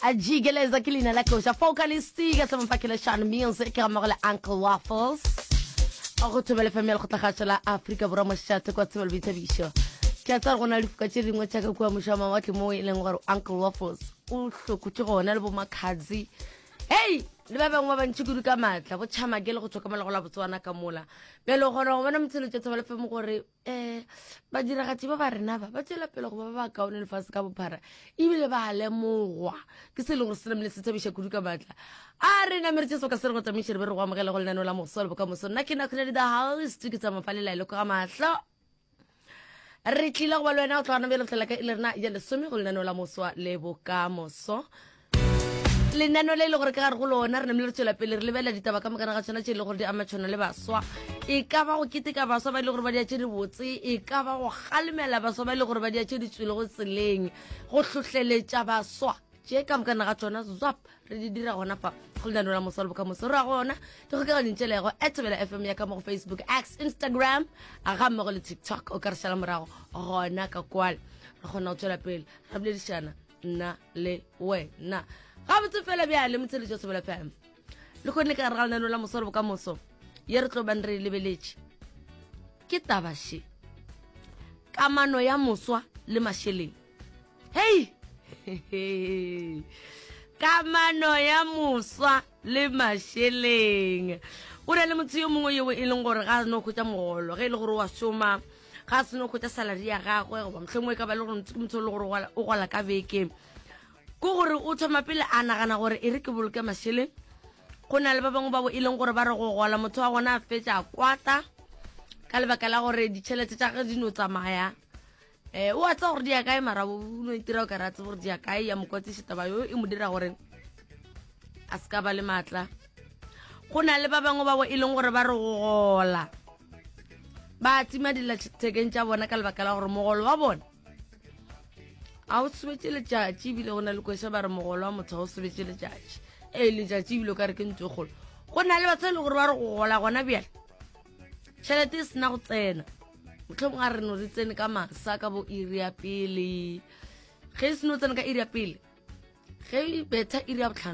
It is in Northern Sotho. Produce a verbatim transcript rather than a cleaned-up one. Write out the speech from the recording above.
A jikeleza ke leina la koša Focalistic ka semfakele Sean Music ga mmogo le Uncle Waffles. Go Thobela F M ya Lekgotlakgašo la Afrika Borwa, mošate kwa Tsebo le Boithabišo. Ke a tseba gore go na le difoka tše dingwe tša ka kua mošwa mawatle moo e leng gore Uncle Waffles o hlokotše gona le bo Makhadzi. Hei, le ba bangwe ba bantši kudu ka maatla, bo Tšhamake le go tšwa ka mola go la Botswana ka mola. Bjale o kgona go bona motshelo tša Thobela F M gore um badiragatši ba ba rena ba ba tšwela pele go ba ba ba kaone lefase ka bophara, ebile ba lemogwa ke se e leng gore se namile se thabiša kudu ka maatla. A re namere tše soka se re go tsamaiše re be re go amogela go lenaneo la Moso le Bokamoso. Nna ke Nakgonedi the house, ke tsamaya fa lelaelo ka mahlo. Re tlile go ba le wena go tloga bjale go ka e le rena ya lesome go lenaneo la Moswa le Bokamoso, lenaneo le e le gore ka gare go lona re namile re tswela pele re lebelela ditaba ka mokana ga tšona tše e le gore di ama tšhona le baswa. E ka ba go keteka baswa ba e le gore ba dia tše di botse, e ka ba go kgalemela baswa ba e le gore ba dia tše di tswelego tseleng, go hlohleletša baswa, tše ka mokana ga tšona zwap re di dira gona fa go lenaneo la Moswa le Bokamoso. Re ra gona dikgokaganyong tšelego at Thobela F M ya ka mo go Facebook, X, Instagram ga mmogo le TikTok. O ka re šala morago gona ka kwale, re kgona go tswela pele re boledišana nna le wena gabotse fela. Bjale motsheletso Thobela F M le kgone ka gare ga lenaneo la Moswa le Bokamoso ye re tlo bang re e lebeletše ke taba še, kamano ya moswa le mašeleng. Hei, kamano ya moswa le mašeleng. O na le motho yo mongwe yo e leng gore ga a no hwetša mogolo, ge e le gore wa šoma, ga a seno hwetša salary ya gagwe, goba mohlomongwe e ka ba le gore ke motho e le gore o gola ka beke, ke gore o thoma pele a nagana gore e re ke boloke mašeleng. Go na le ba bangwe bao e leng gore ba re go gola motho wa gona a fetša a kwata ka lebaka la gore ditšhelete tša ge di no tsamaya. um o a tseba gore di ya kae, mara o no itira o ka re a tsebe gore di ya kae. Ya mokwatsiše taba yo e mo dira gore a se ka ba le maatla. Go na le ba bangwe bao e leng gore ba re go gola ba tima dilathekeng tša bona ka lebaka la gore mogolo wa bona a o sobetse letšatši. Ebile go na le kwesa ba re mogolo wa motho ga o sobetse letšatši, ee, letšatši, ebile o ka re ke ntho e kgolo. Go na le batho e le gore ba re go gola gona bjale tšhelete e sena go tsena, mohlomongwe a re no re tsene ka masa ka bo iri ya pele, ge e seno tsena ka iri ya pele, ge e betha iri ya botlhano.